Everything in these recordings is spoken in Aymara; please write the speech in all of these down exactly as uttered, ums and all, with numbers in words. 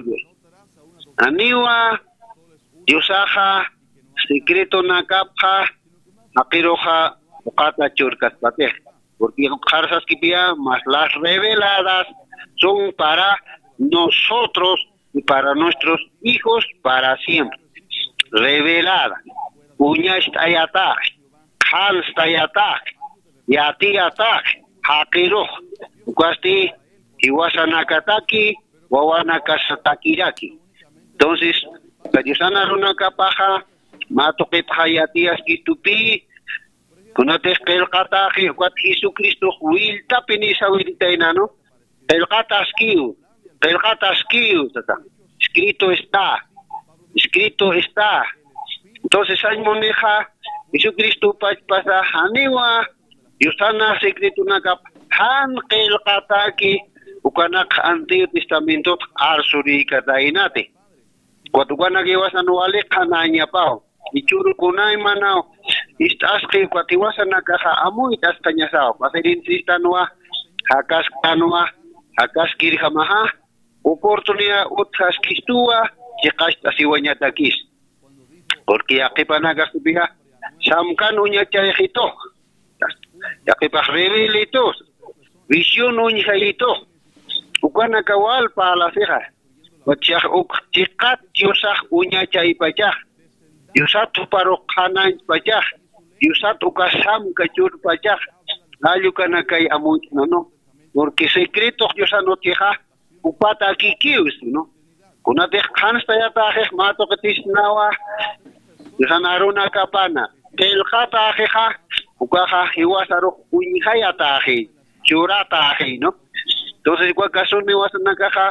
Dios. Aniwa Diosaxa secretonakapxa jaqiruxa uqata churkaspatix. Porque qharsaskipiya mas las reveladas son para nosotros y para nuestros hijos para siempre. Revelada, uñast'ayatax, qhanstayatax, yatiyatax, jaqirux, ukasti jiwasanakataki wawanakasatakiraki. Entonces, ka Diosana runakapaxa mä tuqipxa yatiyaskitupi, kunatix qillqataxi ukat Jesucristox willtapi nisawiritaynanu, qillqataskiw, qillqataskiw tata, escrito está, escrito está. Entonces sañ munixa, Jesucristo pachpasa janiwa Diosana secretonakap jan qillqataki, ukanak Antiguo Testamentot arsurïkataynati. Ukat ukanak jiwasan wali qhanañapaw, ichuru kunaymanaw ist'asqi ukat jiwasanakaxa amuyt'asqañasaw, pasirint'istanwa, jakasktanwa, jakaskirjamaxa, oportunidad utjaskistuwa, chiqacht'asiwañatakis. Porque yaqipanakax sipixa, samkan uñachayxitux, yaqipax rebelitus, visión uñjayitux, ukanaka wal parlasixa, wachax uk chiqat Diosax uñachaypachax, Diosat juparux qhanañpachax, Diosat uka samka churpachax, allukanakay amuyt'nanu. Porque secretox Diosan utjixa, upat akikiw, ¿no? Kunatix qhanstayataxix mä tuqitisnawa, Diosan arunakapana, qillqataxixa, ukaxa jiwasarux uñjayataxi, churataxi, ¿no? Entonces, uka kasuni jiwasanakaxa,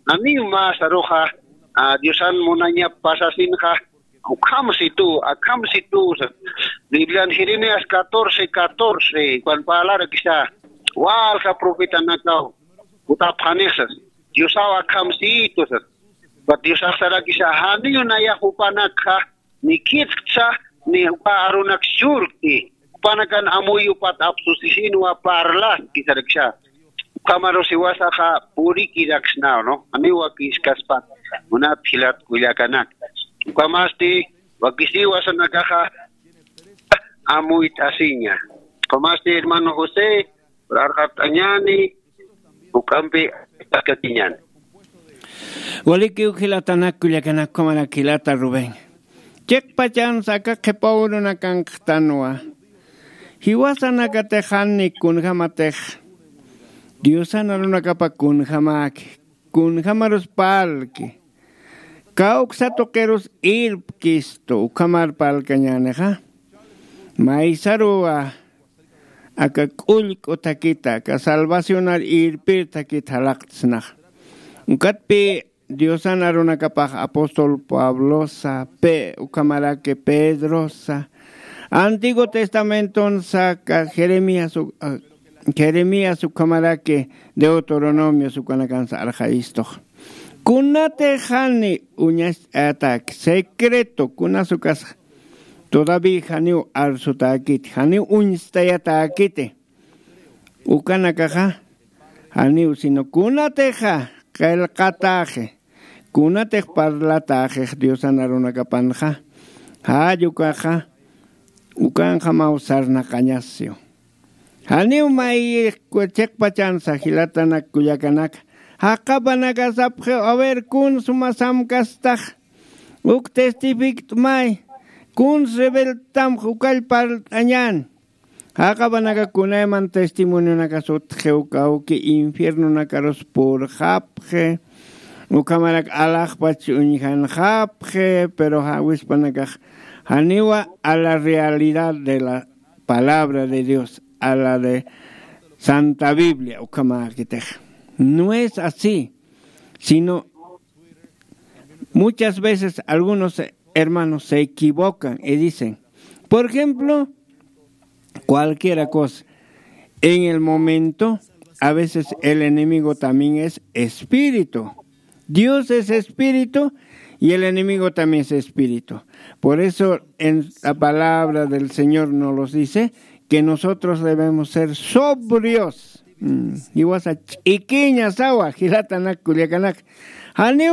janiw mä saruxa, a, Diosan munañap pasasinxa, ukham situ, akham situ, sa. Biblian Jeremías catorce catorce, ukan parlarakisa, walja profetanakaw, utapxanix sas, Diosaw akham situ sas. Ukat Diosax sarakisa, janiw nayax jupanakxa, ni khitktsa, ni uka arunak churkti, jupanakan amuy upat apsusisinwa parlaski sarakisa. Ukhamarus jiwasaxa purikiraksnaw, ¿no? Janiw wakiskaspa, munat jilat kullakanak. Ukhamasti, wakisiwa sanakaxa, amuyt'asiña. Ukhamasti, hermano José, arxat'añani, ukhampi, akatiñani. Walikiw jilatanak kullakanak, ukhamarak jilata Rubén. Chiqpachansa aka qhipaw runakanqtanwa. Jiwasanakatix jani kunjamatix Diosan arunakapa kunjamäki, kunjamarus parlki. Kawksa tuqirus irpkistu, ukhamar parlkañänixa. Maysaruwa aka k'ullk'u thakita, aka salvacionar irpir thakita jalaqtsnaxa. Ukatpi Diosan arunakapax apóstol Pablosa, Pe-, ukhamaraki Pedrosa, Antiguo Testamentonsa, aka Jeremías, u-, a, Jeremías ukhamaraki Deuteronomios ukanakansa arxayistux. Kunatix jani uñast'ayatäki, secreto, kunas ukas todavía janiw arsutäkiti, janiw uñstayatäkiti. Ukanakaxa, janiw sino kunatixa qillqatäxi, kunatix parlatäxix Diosan arunakapanxa, jall ukaxa, ukanxamaw sarnaqañasiw. Janiw may chiqpachansa jilatanak kullakanaka, jaqapanaka sapxiw, a ver, kun suma samkastax, uk testifikt'may, kun rebeltamx ukall parlt'añän. Jaqapanaka kunayman testimonionakas utxiw kawki, infiernonakarus purxapxi, ukhamarak alaxpach uñjanxapxi, pero ja-, wispanakax janiwa a la realidad de la palabra de Dios, a la de Santa Biblia, ukhamäkitix. No es así, sino muchas veces algunos hermanos se equivocan y dicen, por ejemplo, cualquiera cosa. En el momento, a veces el enemigo también es espíritu. Dios es espíritu y el enemigo también es espíritu. Por eso en la palabra del Señor nos los dice que nosotros debemos ser sobrios. Mm, jiwasa ch'ikiñasawa, jilatanak kullakanak. Janiw